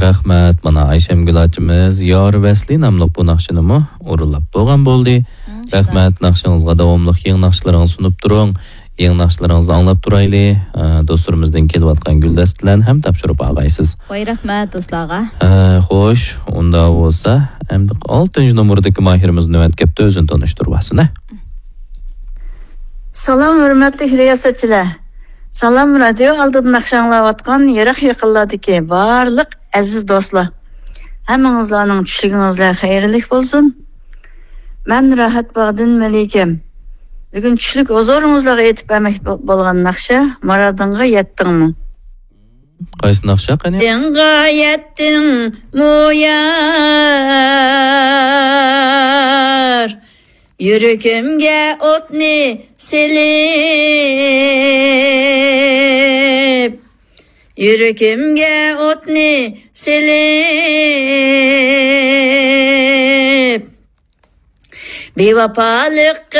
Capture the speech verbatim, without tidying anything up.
رەھمەت، مانا ئايشەمگۈل ئاچىمىز يار ۋەسلى ناملىق بۇ ناخشىنىمۇ ئورۇنلاپ بولغان بولدى. مم، رەھمەت، ناخشىڭىزغا داۋاملىق يېڭى ناخشىلىرىڭىزنى سۇنۇپ تۇرۇڭ. يېڭى ناخشىلىرىڭىزنى ئاڭلاپ تۇرايلى. ئە، دوستلىرىمىزدىن كېلىۋاتقان گۈلدەستە بىلەن ھەم تاپشۇرۇپ ئالغايسىز. ۋاي، رەھمەت، دوستلارغا. ئە، خوش، ئۇنداق بولسا، ئەمدى ئالتىنچى نومۇردىكى ماھىرىمىز نۆۋەت كەپتۇ، ئۆزىنى تونۇشتۇرۇۋالسۇن، ھە؟ سالام، ھۆرمەتلىك رىياسەتچىلەر. سالام، رادىيو ئالدىدا ناخشا ئاڭلاۋاتقان يىراق يېقىنلاردىكى بارلىق ئەزىز دوستلار. ھەممىڭىزلارنىڭ چۈشلۈكىڭىزلەر خەيرلىك بولسۇن. مەن راھەت باغدىن مەلىكەم. بۈگۈن چۈشلۈك ھۇزۇرىڭىزلارغا ئېيتىپ بەرمەكچى بو-، بولغان ناخشا مۇرادىڭغا يەتتىڭمۇ؟ قايسى ناخشا قېنى؟ دىڭغا يەتتىڭمۇ يار؟ يۈرىكىمگە ئوتنى سېلىپ، يۈرىكىمگە ئوتنى سېلىپ، بىۋاپالىق